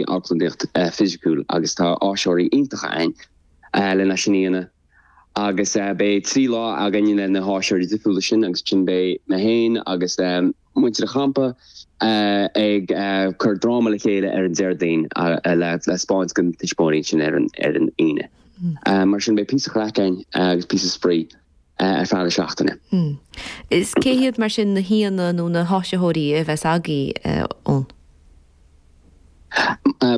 amharclannaíocht fisiciúil agus tá áisitheoirí iontacha againn lena sin a dhéanamh agus beidh 3 lá againn le na háisitheoirí difriúla sin agus ansin beidh mé féin agus muintir an champa ag cur dráma le chéile ar an Déardaoin le 'spáint do na tuismitheoirí ansin ar an Aoine. Mar sin beidh píosa craic againn agus píosa spraoi ar feadh na seachtaine. Is cé hiad mar sin na haíonna nó na háisitheoirí a bheas agaibh ann?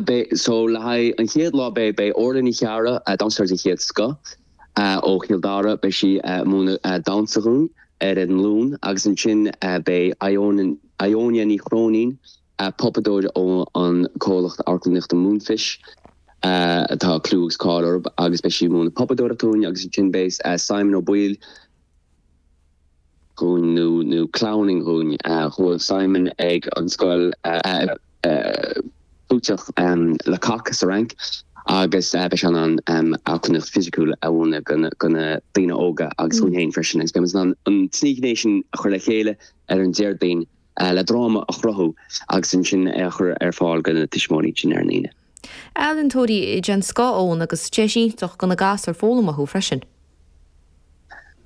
Beidh, so le haghaidh an chéad lá beidh, beidh Orla Ní Chearra, damhsóir den chéad scoth ó Chill Dara, beidh sí ag múineadh damhsa dhúinn ar an Luan agus ansin beidh Ione, Ionia Ní Chróinín, puipeadóir ó an comhlacht amharclannaíochta Moonfish atá clú agus cáil orthu agus beidh sí ag múineadh puipeadóireacht dúinn agus ansin beidh Simon Ó Baoill dhúinn nó nó clowning dhúinn. Chuaigh Simon ag an scoil chlúiteach Le Coq sa Fhrainc agus beidh sé in ann amharclannaíocht fisiciúil a mhúineadh do na daoine óga agus dúinn féin freisin agus beidh muid in ann an trí ghné sin a chur le chéile ar an Déardaoin. le dráma a chruthú agus ansin é a chur ar fáil do na tuismitheoirí ansin ar an Aoine. Ealaíontóirí den scoth ann agus deis iontach do na gasúir foghlaim uathu freisin.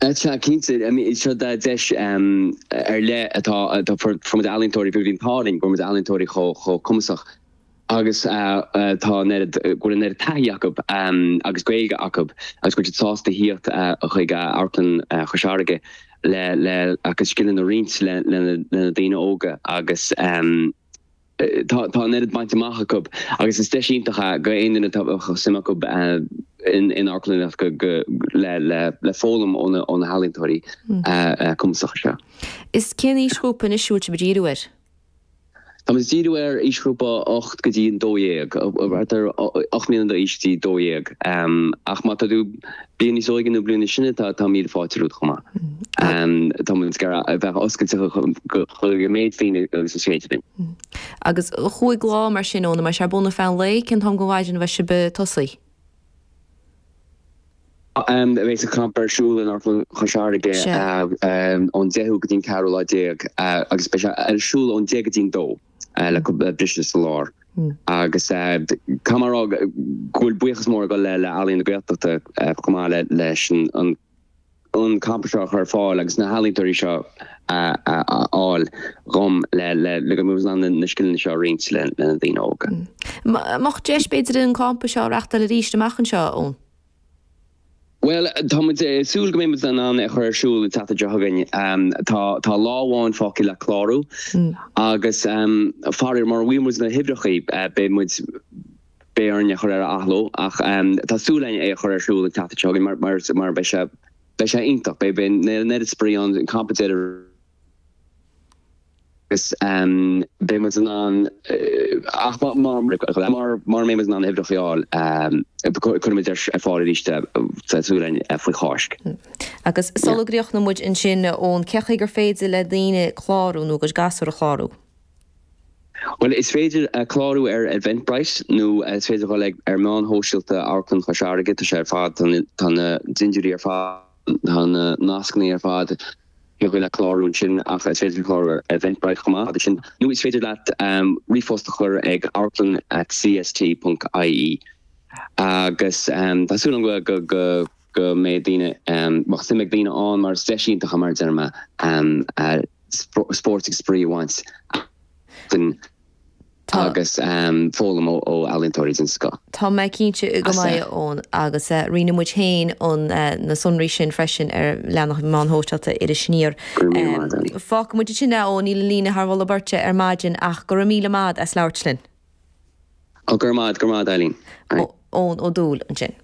Sea, cinnte. Seo deis ar leith atá, fuair muid ealaíontóirí, bhí an t-ádh linn go bhfuair muid ealaíontóirí chomh cumasach agus tá an oiread, go bhfuil an oiread taithí acu agus Gaeilge acu agus go bhfuil siad sásta a thíocht chuig Amharclann Chois Fharraige le le a gcuid scileanna a roinnt le le na daoine óga agus tá tá an oiread bainte amach acu agus is deis iontach é do aon duine atá suim acu in in amharclannaíocht go go le le le foghlaim ó na ó na healaíontóirí cumasacha seo. Is cén aoisghrúpa anois a bhfuil sibh ag díriú air? Tá muid ag díriú ar aoisghrúpa 8 go dtí an 12, thart ar 8 mbliana d'aois go dtí 12. Ach má tá tú bliain níos óige nó bliain níos sine, tá míle fáilte romhat chomh maith. Tá muid ag iarraidh a bheith oscailte chuig an méid daoine agus is féidir linn. Agus chúig lá mar sin, Eoin, an mbeidh sé ar bun ar feadh an lae? Cén t-am den mhaidin a bheidh sibh ag tosaí? Beidh an campa ar siúl in Amharclann Chois Fharraige ón 10ú go dtí an ceathrú lá déag agus beidh sé ar siúl ón 10 go dtí an 2 le cúpla briseadh sa lár. Agus caithfidh mé a rá go bhfuil buíochas mór ag dul le Ealaín na Gaeltachta chomh maith leis an an campa seo a chur ar fáil agus na healaíontóirí seo a fháil dhom le le go mbeidh muid in ann na scileanna seo a roinnt le na daoine óga. Mbeadh deis b'fhéidir an campa seo a reachtáil arís amach anseo, Eoin? Bhuel, tá muid ag súil go mbeidh muid in ann é a chur ar siúl an tseachtain seo chugainn. Tá tá lá amháin fágtha le clárú agus faraor mura bhfuair muid na huimhreacha beidh muid beidh orainn é a chur ar athló ach tá súil againn é a chur ar siúl an tseachtain seo chugainn mar mar mar beidh sé beidh sé iontach. Beidh beidh an oiread spraoi ann, an campa deiridh agus beidh muid in ann ach má má mura mbeidh muid in ann na huimhreacha a fháil cuirfidh muid ar fáil arís é tá súil againn faoi Cháisc. Agus sula gcríochnóidh muid ansin Eoin, cén chaoi gur féidir le daoine clárú nó a gcuid gasúr a chlárú? Bhuel, is féidir clárú ar Eventbrite nó is féidir dhul ag ar meáin shóisialta Amharclann Chois Fharraige, tá sé ar fad, tá na dintiúirí ar fad, tá na nascanna ar fad, thiocfadh leat clárú ansin ach is féidir clárú ar Eventbrite chomh maith sin nó is féidir leat ríomhphost a chur ag amharclann at cst ponc ie agus tá súil agam go go go mbeidh daoine, mbeadh suim ag daoine ann mar is deis iontach é mar a deir mé. spórt agus spraoi a bhaint asainn agus foghlaim ó ealaíontóirí den scoth. Tá mé cinnte go mbeidh, Eoin, agus roinnfidh muid féin na sonraí sin freisin ar leathanach meáin shóisialta Iris Aniar. Go raibh míle maith agat. Fágfaidh muid ansin é, Eoin, níl an líne thar mholadh beirte ar maidin ach go raibh míle maith agat as labhairt linn. Ó, go raibh maith agat, go raibh maith agat, Eileen. Eoin Ó Dúill ansin.